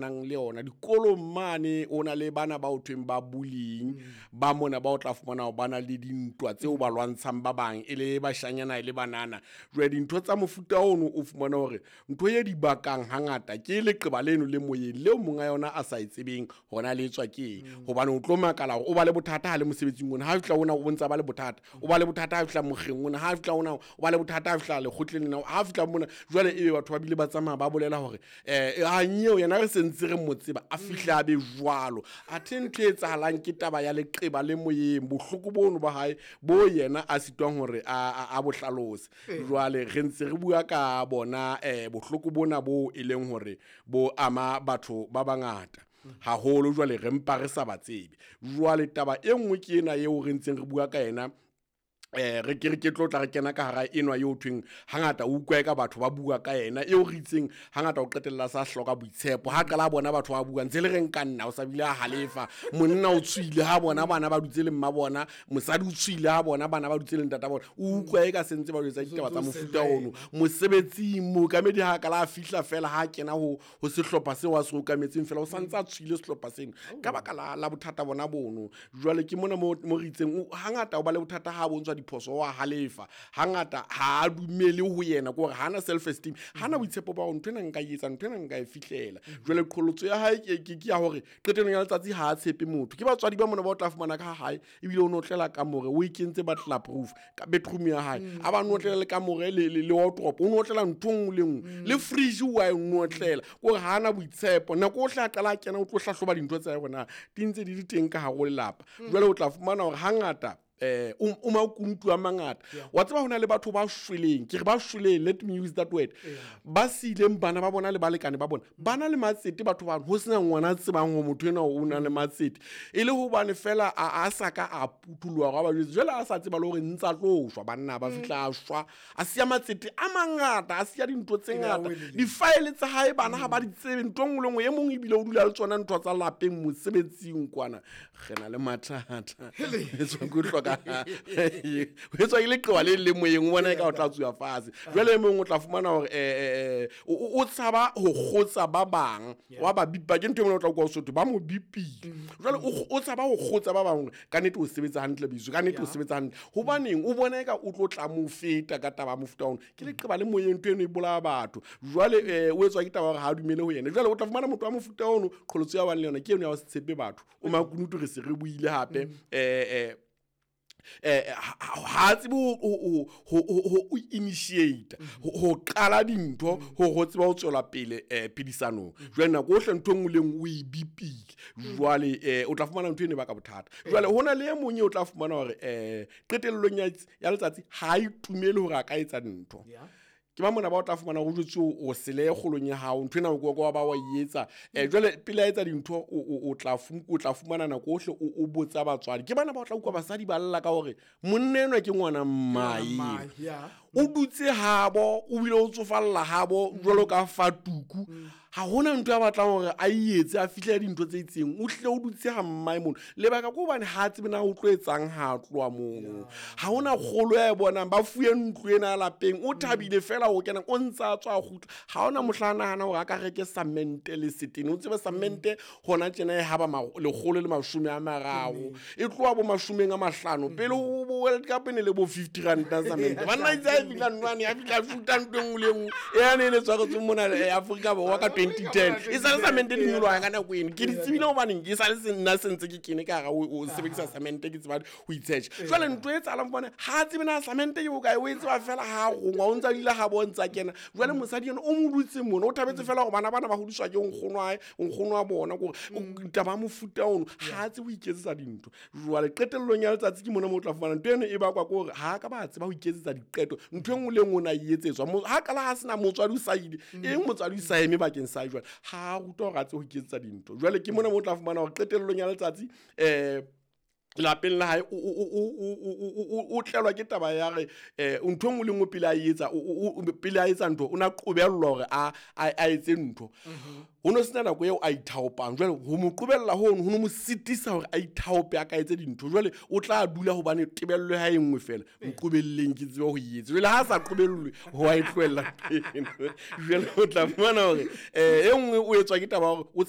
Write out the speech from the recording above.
Nang le yona dikolong mane, o na le bana ba o thweng ba bullying, ba mona ba o tla fumana hore ba na le dintwa tseo ba lwantshang ba bang, e le bashanyana e le banana. Jwale dintho tsa mofuta ono o fumana hore ntho e di bakang hangata ke leqeba leno le moyeng leo monga yona a sa e tsebeng hona le etswa ke eng. Hobane o tlo makala hore o ba le bothata ha le mosebetsing ona, ha fihla ona o ntsa ba le bothata, o ba le bothata ha fihla mokgeng ona, ha fihla ona o ba le bothata ha fihla lekgotleng lena, ha fihla mona. Jwale ebe batho ba bile ba tsamaya ba bolela hore hanyeo yena re sentse re mo tseba a fihle a be jwalo. Athe ntho e etsahalang ke taba ya leqeba le moyeng, bohloko bono ba hae bo yena a sitwang hore a bo hlalose. Jwale re ntse re bua ka bona bohloko bona bo e leng hore bo ama batho ba bangata haholo, jwale re mpa re sa ba tsebe. Jwale taba e nngwe ke ena eo re ntseng re bua ka yena, re ke re ke tlo tla re kena ka hara enwa eo thweng hangata o utlwa ka batho ba bua ka yena, eo re itseng hangata o qetella sa hloka boitshepo. Ha qala bona batho ba bua ntse le reng ka nna, o sa bile a halefa, monna o tswile ha bona bana ba dutse le mma bona, mosadi o tswile ha bona bana ba dutse le ntata bona, o utlwa e ka sentse ba jwetsa ditaba tsa mofuta ono. Mosebetsing mookamedi ha qala a fihla fela, ha kena ho sehlopha seo a se okametseng fela, o santse a tswile sehlopha seno ka baka la bothata bona bono. Jwale ke mona mo re itseng hangata o ba le bothata ha bontshwa diphoso, wa halefa hangata, ha a dumele ho yena, ke hore ha ana self esteem, ha ana boitshepo ba hore ntho ena nka e etsa, ntho ena nka e fihlela. Jwale qholotso ya hae ke ya hore qetellong ya letsatsi ha a tshepe motho. Ke batswadi ba mona ba o tla fumana ka hae, ebile o notlela kamore, o e kentse butler proof ka bedroom ya hae, a ba notlela le kamore le wardrobe, o notlela ntho nngwe le nngwe, le fridge wa e notlela, kore ha ana boitshepo. Nako ohle a qala a kena o tlo hlahloba dintho tsa hae hore na di ntse di le teng ka hare ho lelapa. Jwale o tla fumana hore hangata o makunutu a mangata. Wa tseba hona le batho ba shweleng, ke re ba shweleng, let me use that word, ba sileng bana ba bona le balekane ba bona, ba na le matsete batho ba ho sena ngwana a tsebang hore motho enwa o na le matsete, e le hobane fela a sa ka a puthuloha hore a ba jwetse. Jwale a sa tseba le hore ntsa tlo shwa, banna ba fihla a shwa, a siya matsete a mangata, a siya dintho tse ngata, difaele tsa hae bana ha ba di tsebe, ntho nngwe le nngwe. E mong ebile o dula le tsona ntho tsa lapeng mosebetsing kwana. Re na le mathata, etswa ke hloka, etswa ke leqeba le le moyeng, o bona e ka o tla tsuwa fatshe. Jwale e mong o tla fumana hore o tshaba ho kgotsa ba bang, wa ba bipa, ke ntho e mona o tla utlwa Sotho ba mo bipile. Jwale o tshaba ho kgotsa ba bang, ka nnete o sebetsa hantle biso, ka nnete o sebetsa hantle, hobaneng o bona eka o tlo tla mo feta ka taba mofuta ono. Ke leqeba le moyeng, ntho eno e bolaya batho. Jwale o etswa ke taba hore ha a dumele ho yena. Jwale o tla fumana motho wa mofuta ono, qholotso ya bang le yona ke eno ya ho se tshepe batho. O makunutu re se re buile hape, ha tsebe ho initiate, ho qala dintho, ho tseba ho tswela pele phedisanong. Jwale nako ohle ntho nngwe le nngwe o e bipile. Jwale o tla fumana ntho eno e baka bothata. Jwale hona le e mong eo o tla fumana hore qetellong ya letsatsi ha a itumele hore a ka etsa ntho. Ke ba mona ba o tla fumana ho jwetse o sele kgolong ya hao, ntho ena o kwa ba wa e etsa. Jwale pele a etsa dintho o tla fumana nako ohle o botsa batswadi. Ke bana ba o tla utlwa basadi ba lla ka hore monna enwa ke ngwana mmae, o dutse habo, o bile o tsofalla habo jwalo ka fatuku, ha hona ntho ya batlang hore a etse a fihle dintho tse itseng, o hle o dutse ha mmae mono. Lebaka ke hobane ha tsebe na o tlo etsang ha tloha mono, ha hona kgolo ya e bonang, ba fuwe ntlo ena lapeng, o thabile fela ho kena, o ntsa tswa a kgutla. Ha hona mohla a nahana hore a ka reke samente le setene. O tsebe samente hona tjena e haba 130, e tloha bo 50, pele ho World Cup e ne le bo 50 rand samente. Banna itse a fihla nwane, a fihla shuta ntho e nngwe le nngwe e yane e ne tshwaretswe mona Afrika Borwa ka 2010. E sale samente di nyoloha ka nako eno, ke di tsebile hobaneng ke sale nna sentse ke kene ka hara o sebedisa samente, ke tseba ho itshetjha. Jwale ntho e etsahalang bone ha tsebe na samente ke bokae, o e tseba fela ha rongwa, o ntsa dula ha bo ntsa kena. Jwale mosadi ena o mo dutse mona, o thabetse fela hore bana bana ba hodiswa ke nkgono wa hae, nkgono wa bona, ke hore taba ya mofuta ono ha tsebe ho iketsetsa dintho. Jwale qetellong ya letsatsi ke mona mo o tla fumana ntho eno e bakwa ke hore ha ka ba tseba ho iketsetsa diqeto, ntho e nngwe le nngwe o na e etsetswa. Ha qala ha sena motswadi o sa ile, eng motswadi o sa eme bakeng sa jwale, ha a rutwa hore a tsebe ho iketsetsa dintho. Jwale ke mona mo o tla fumana hore qetellong ya letsatsi Lapeng la hae o tlelwa ke taba ya re ntho e nngwe le nngwe pele a etsa, pele a etsa ntho, o na qobellwa hore a etse ntho. Ho no sena nako eo a ithaopang. Jwale ho mo qobella hono ho no mo sitisa hore a ithaope, a ka etse dintho. Jwale o tla dula hobane tebello ya hae e nngwe fela, nqobelleng ke tsebe ho etsa. Jwale ha a sa qobellwe, ho a e tlohella. Jwale o tla fumana hore e nngwe o etswa ke taba ya hore o tshaba.